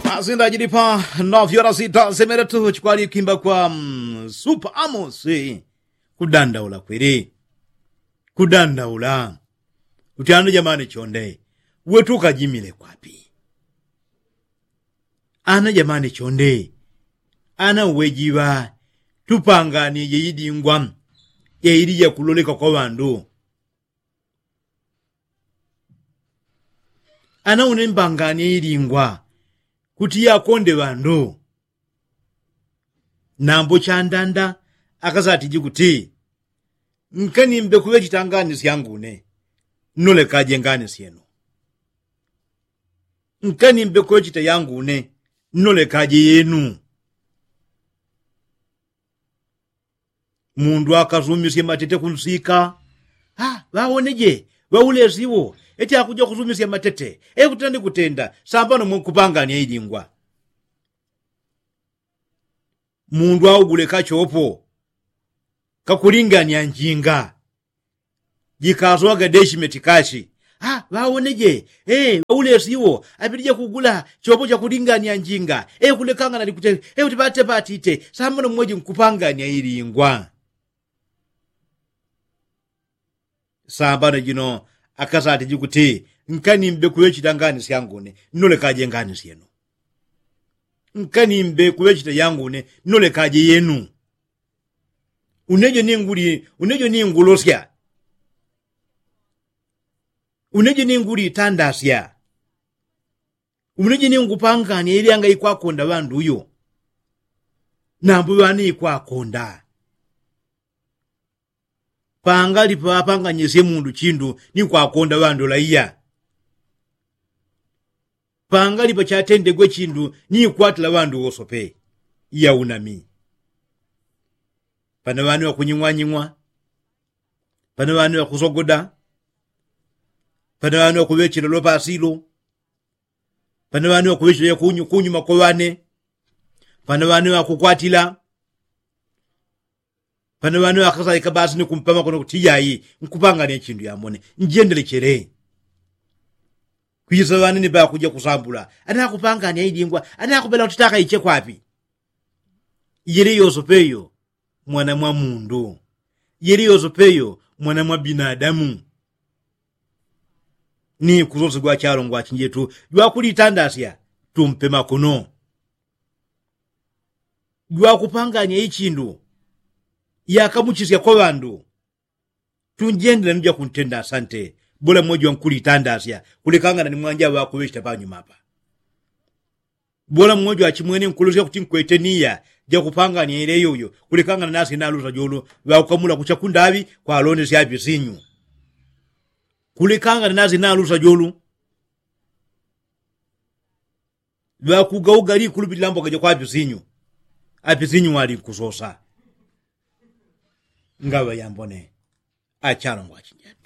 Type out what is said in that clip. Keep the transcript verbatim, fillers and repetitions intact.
Asindajilipa nafyo lasita semeretu chikwali kimba kwa supa amosi. Kudandaula kwili. Kudandaula. Kuti ana jamani chonde, wetu ukajimile kwapi? Ana jamani chonde, ana uwejiwa tupanganie jeidingwa jeili jakuloleka kwa ŵandu. Ana une mbanganie ilingwa kuti yakonde ŵandu. Nambo chandanda akasatiji kuti nkanimbe kuŵechita ngani syangune, nnolekaje ngani syenu. Nkanimbe kuŵechita yangune, nnolekaje yenu. Mundu akasumisye matete kunsika. Ŵawoneje ŵaulesi wo eti akuja kusumisya matete. Ekutenda ni kutenda sambano mwe nkupangania ilingwa. Mundu augule kachopo kakulingania njinga. Jikasowaga deshimeti kashi. Ŵawoneje ŵaulesi wo apitije kugula chopo chakulingania njinga. Ekulekangana ni kutenda ekuti ŵatepatite sambano mweji nkupangania ilingwa. Sambano jino akasatiji kuti nkanimbe kuŵechita ngani syangune, nnolekaje ngani syenu. Nkanimbe kuŵechita yangune, nnolekaje yenu. Unejo ninguli unejo ningulosya. Unejo ningulitandasya. Unejo ningupangania ili anga ikwakonda ŵandu uyo. Nambo ŵani ikwakonda. Pangali paŵapanganyisye mundu chindu ni kwakonda ŵandu laiya. Pangali pachatendegwe chindu ni kwatila ŵandu wosope. Iya unami. Pana ŵani ŵakunying'wanying'wa. Pana ŵani ŵakusogoda. Pana ŵani ŵakuŵechela lopasilo. Pana ŵani ŵakuŵechela kunyuma kwa ŵane. Pana ŵani ŵakukwatila. Pana ŵani ŵakasaika basi ni kumpama kono kuti iyayi nkupangania chindu yamone. Njendelechele. Kwisa ŵanene ŵakuja kusambula anakupangania ilingwa. Anakupela kuti taka ichekwapi? Yele yosope yo mwana mwa mundu. Yele yosope yo mwana mwa binadamu. Ni kusosegwa chalongwa chinjetu jwakulitandasya tumpe makono. Jwakupangania ichindu yakamuchisya kwa ŵandu. Tunjendela ni jakuntenda asante. Bola mweji wankulitandasya kulekangana ni mwanja ŵakuŵechita panyuma apa. Bola mweji wachimwene nkulosya kuti nkwete niya jakupangania ileyo uyo kulekangana nasi nalusa jolo. Ŵakukamula kucha kundaŵi kwalondesya apisinyu. Kulekangana nasi nalusa jolo. Ŵakugauga likulupilila mboka jakwa apisinyu. Apisinyu walinkusosa. Ngaŵa yambone achalongwa achinjani.